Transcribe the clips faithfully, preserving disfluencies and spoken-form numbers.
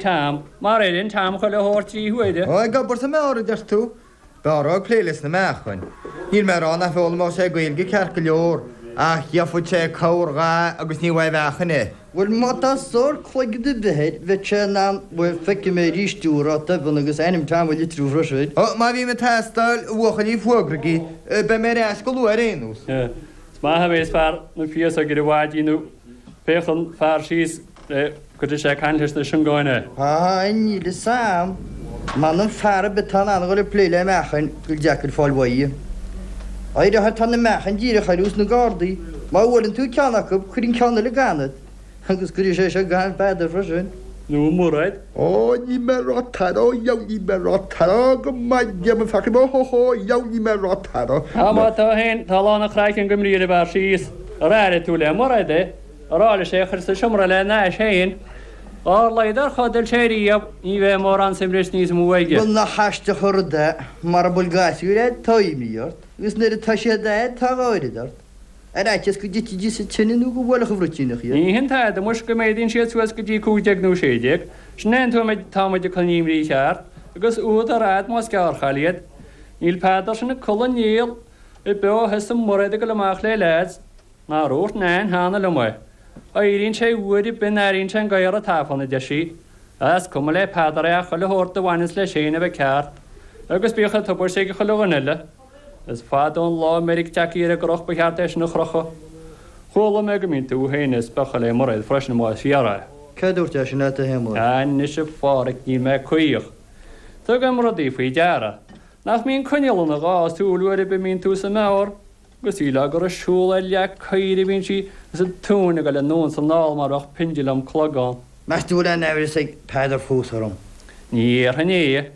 Tom, mar éiríonn Tom chuile shórt trí huaire. Ó, ag obair sa mbeár, a deir tú? B'fhearr ag plé leis na meáchain. Níl mé ag rá nach bhfoghlaimeodh sé Gaeilge ceart go leor, ach gheobhadh sé corr dhath agus ní bheadh mheáchain air. Bhuel, má tá sórt cloigeann ar bith air, bheadh sé in ann, bhuel, feicfidh mé arís thú a rá doimhin agus ainm Tom a litriú freisin. Ó, má bhím ag teastáil, a bhuachaillí, fuagraigí. Beidh mé ar ais go luath ar aon nós. Is maith a bheas fear na féasóige ar an mhaidin nó féachann fear síos le cuirfidh sé ag caint leis na siongáin é. Á, níl fhios a'm. M'anam fear ar bith atá in ann a dhul ag plé le meáchain gur deacair fáil uaidh. Áirithe tá na meáchain díreach ar nós na gcardaí, má bhuaileann tú ceann acu, cuireann ceann eile gan ort, agus cuirfidh sé seo gan Peadar freisin. Nó Mairéad. Ó, níl mé ag rá tada, ó dheabhail níl mé ag rá tada, ó go maith Dé mo pheacaí, ó hó hó, dheabhail níl mé ag rá tada. Á, má tá féin, tá a lán an chraicinn go mbrí ar an bhfear síos. Ar airigh tú le Mairéad é? A rá leis é a chur sa seomra lena ais féin. Dár laghad ar chodail sé riamh, ní bheidh mórán suimris níos mó aige. Bhuel, nach aisteach an rud é, mara bhfuil gasúir a'd, tá imní ort, agus nuair atá siad a'd, tá dhá oiread ort. Ar fhaitíos go dtitfidís sa tine nó go mbuailfeadh an bhruitíneach iad. Ní hin tada muis go méadaíonn siad suas go dtí cúig déag nó sé déag, sin é an t-am atá muid ag cur na himní ceart, agus údar a'd más gearrchaile iad. Níl Peadar sin ag codladh néal ar bith ó thosaigh Mairéad ag dul amach le leaids. Nár dhúirt Nain cheana liom é. Éiríonn sé uair ar bith a n-airíonn sé an gadhar ag tafann, a deir sí. Is cuma le Peadar é ach chuile shórt a bhaineas leis féin a bheith ceart, agus bíodh an tubaiste ag chuile dhuine eile. Is fada ón lá a mbeidh Jackie ar an gcroch ba cheart é sin a chrochadh. Chuala mé go mbíonn tú féin ag spochadh le Mairéad freisin más fíor é. Cé a dúirt é sin leat, a Shéamuis? Anois a Pháraic níl mé caoch. Tugaim rudaí faoi deara. Nach mbíonn coinneal ina dhá súil uair ar bith a mbíonn tú sa mbeár? Agus shílfeá gur ag siúl ar leac oighir a bhíonn sí agus an tóin ag dul anonn is anall mar bheadh peindileam clog ann. Meas tú an bhfuil aon aimhreas ag Peadar fós orm? Ní dhéarfainn é.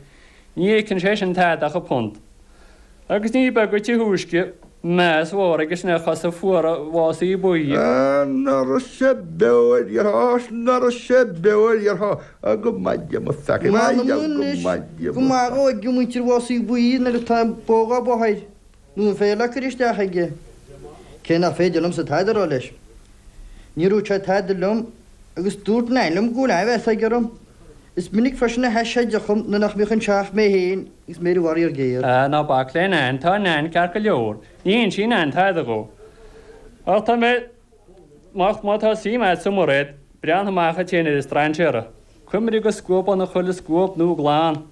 Ní íocann sé sin tada ach an punt. Agus ní beag an túisce meas mhór aige sin ar chosa fuara Mhásaí Buí. Ah, ná raibh sé beo ar dheartháir, ná raibh sé beo ar dheartháir, ah, go maith Dé mo pheacaí, M'anam anois go maith dhó ag muintir Mhásaí Buí nuair atá an bó dhá bá air. Nó an féar le cur isteach aige. Cé nach féidir liomsa tada a rá leis. Níor dhúirt sé tada liom agus dúirt Nain liom go bhfuil aimhreas aige orm. Is minic freisin a sheas sé i dteach dhom nuair nach mbíodh anseo ach mé féin agus mé ar an bhfaraor géar. Ah, ná bac le Nain, tá Nain ceart go leor. Ní insíonn Nain tada dhó. Ach tá mé, má, má tá suim agat sa Mhairéad, breathnaigh amach duit féin ar an strainséara. Cuimhnigh go scuabann chuile scuab nua glan.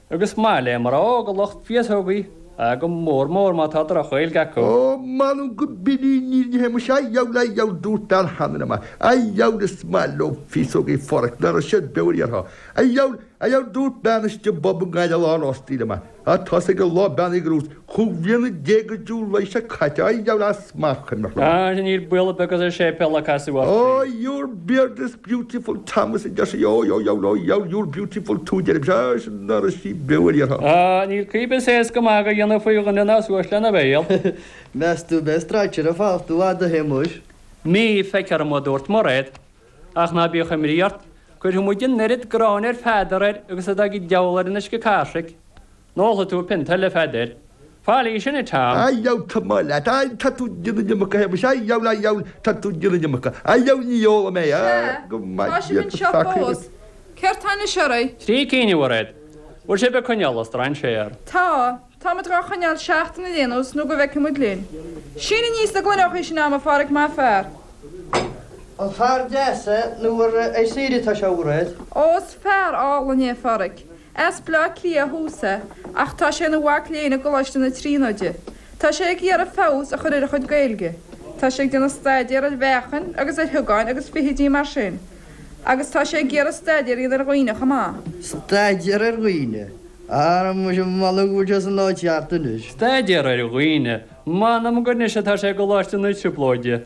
Agus maith le mná óga lucht féasógaí, ach go mór mór má tá droch-Ghaeilge acu. Ó, m'anam go binn í ní ní théim a dheabhail a dheabhail dúirt bean cheana liom a dheabhail is maith leo féasógaí Pháraic ná raibh siad beo ar dheartháir a dheabhail a dheabhail dúirt bean istigh i bpub i nGaillimh lá rostaí liom a tá 's ag an lá bean ag rús chúig bhliana déag go July seo caite a dheabhail as maith cuimhneach liom. Ah, níl baol ar bith as an séipéal a casadh ort. Oh, your beard is beautiful, Thomas, a deir sí, oh, oh, oh, oh, oh, you're beautiful too, deirim, sea, sin ná raibh sí beo ar dheartháir. Ah, níl caoi ar bith is éasca magadh a dhéanamh faoi dhuine ná suas lena bhéal. Meas tú an mbeidh strainséir ag fanacht i bhfad, a Shéamuis? Mí, feictear dom, a dúirt Mairéad, ach ná bíodh imní ort, cuirfidh muid an oiread gráin ar Pheadar air agus atá ag an diabhal ar an uisce cairsich. An ólfaidh tú pionta eile, a Pheadair? Faillí sin, a Tom. A dheabhail, tá maith leat. A, tá tú ag déanamh an iomarca, a Shéamuis. A dheabhail, a dheabhail, tá tú ag déanamh an iomarca. A dheabhail, ní ólfaidh mé. A, Sea, go tá maith sibh leat, anseo a pheacaí. fós. Céard tá anois oraibh? Trí cinn, a Mhairéad. Bhfuil sibh ag coinneáil an strainséar? Tá. Táimid dhá choinneáil seachtain ar aon nós nó go bhfeicfidh muid linn. Sín aníos na gloineochaí sin a'm, a Pháraic, maith fear. An fear deas é nó ar ar saoire atá sé, a Mhairéad? Ó, is fear álainn é, a Pháraic. As Bleá Cliath ó thús é, ach tá sé ina mhac léinn i gColáiste na Tríonóide. Tá sé ag iarraidh feabhas a chur ar a chuid Gaeilge. Tá sé ag déanamh staidéar ar mheáchain agus ar thiogáin agus feithidí mar sin. Agus tá sé ag iarraidh staidéar a dhéanamh ar dhaoine chomh maith. Staidéar ar dhaoine? Ara muise, m'anam go bhfuil sé san áit cheart anois. Staidéar ar dhaoine? M'anam gur anois atá sé i gColáiste na Trioblóide.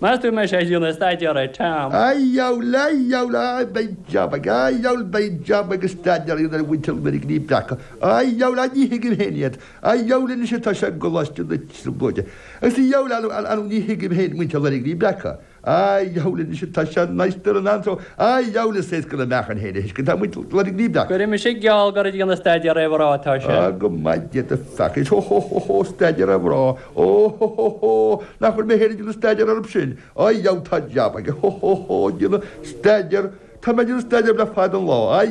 Meas tú an mbeidh sé ag déanamh staidéar ar Tom? A dheabhail, a dheabhail, a beidh jab aige, a dheabhail, beidh jab aige staidéar a dhéanamh ar mhuintir na Loirgní Breaca. A dheabhail, a ní thuigim féin iad. A dheabhail anois atá sé i gColáiste na Trioblóide. Agus a dheabhail, a ní thuigim féin muintir na Loirgní Breaca. A dheabhail anois atá sé in Oyster an Anso. A dheabhail is éasca na meáchain féin a thuiscint, tá muintir na Loirgní Breaca. Cuirfidh mise geall gur ag déanamh staidéar ar mhná atá sé. Á, go maith Dé do pheacaí. Hó hó hó hó, staidéar ar mhná. Ó hó hó hó, nach bhfuil mé féin ag déanamh staidéar orthu sin. Á dheabhail tá jab aige. Hó hó hó, déanamh staidéar, Tá mé ag déanamh staidéir le fada an lá.